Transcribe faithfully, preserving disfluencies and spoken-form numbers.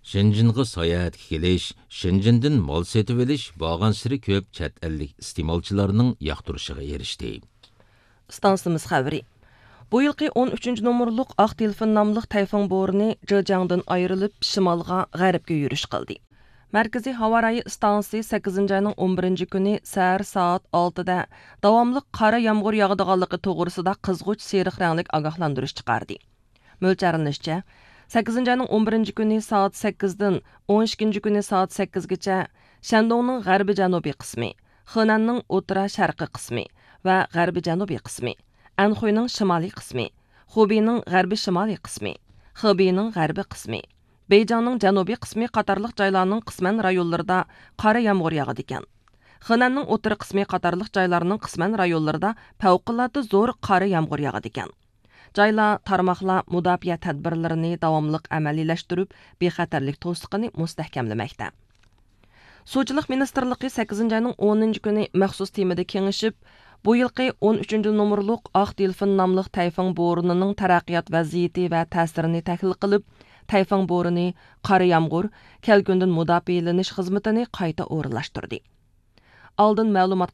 شېنجېنغا ساياھەتكە كېلىش، شېنجېندىن مال سېتىۋېلىش بارغانسېرى كۆپ چەت ئەللىك ئىستېمالچىلارنىڭ ياقتۇرۇشىغا ئېرىشتى. ئىستانسىمىز خەۋىرى. بۇ يىلقى ئون ئۈچىنچى نومۇرلۇق ئاق دېلفىن ناملىق تەيفۇڭ بورىنى جېجياڭدىن ئايرىلىپ، شىمالغا، غەربكە يۈرۈش قىلدى. مەركىزىي ھاۋا رايى ئىستانسىسى سەككىزىنچى ئاينىڭ ئون بىرىنچى كۈنى سەھەر سائەت ئالتىدە داۋاملىق قارا يامغۇر ياغىدىغانلىقى توغرىسىدا قىزغۇچ سېرىق رەڭلىك ئاگاھلاندۇرۇش چىقاردى. مۆلچەرلىنىشىچە، سەككىزىنچى ئاينىڭ ئون بىرىنچى كۈنى سائەت سەككىزدىن ئون ئىككىنچى كۈنى سائەت سەككىزگىچە شەندۇڭنىڭ غەربىي جەنۇبىي قىسمى، خېنەننىڭ ئوتتۇرا شەرقىي قىسمى ۋە غەربىي جەنۇبىي قىسمى، ئەنخۇينىڭ شىمالىي قىسمى، خۇبېينىڭ غەربىي شىمالىي قىسمى، خېبېينىڭ غەربىي قىسمى، بېيجىڭنىڭ جەنۇبىي قىسمى قاتارلىق جايلارنىڭ قىسمەن رايونلىرىدا قارا يامغۇر ياغىدىكەن. خېنەننىڭ ئوتتۇرا قىسمى قاتارلىق جايلارنىڭ قىسمەن رايونلىرىدا پەۋقۇلئاددە زور قارا يامغۇر ياغىدىكەن. جايلار، تارماقلار مۇداپىئە تەدبىرلىرىنى داۋاملىق ئەمەلىيلەشتۈرۈپ، بىخەتەرلىك توسۇقىنى مۇستەھكەملىمەكتە. سۇچىلىق مىنىستىرلىقى سەككىزىنچى ئاينىڭ ئونىنچى كۈنى مەخسۇس تېمىدا كېڭىشىپ، بۇ يىلقى ئون ئۈچىنچى نومۇرلۇق ئاق دېلفىن ناملىق تەيفۇڭ بورىنىنىڭ تەرەققىيات ۋەزىيىتى ۋە تەسىرىنى تەھلىل قىلىپ، تەيفۇڭ بورىنى، قارا يامغۇر، كەلكۈندىن مۇداپىئەلىنىش خىزمىتىنى قايتا ئورۇنلاشتۇردى. ئالدىن مەلۇمات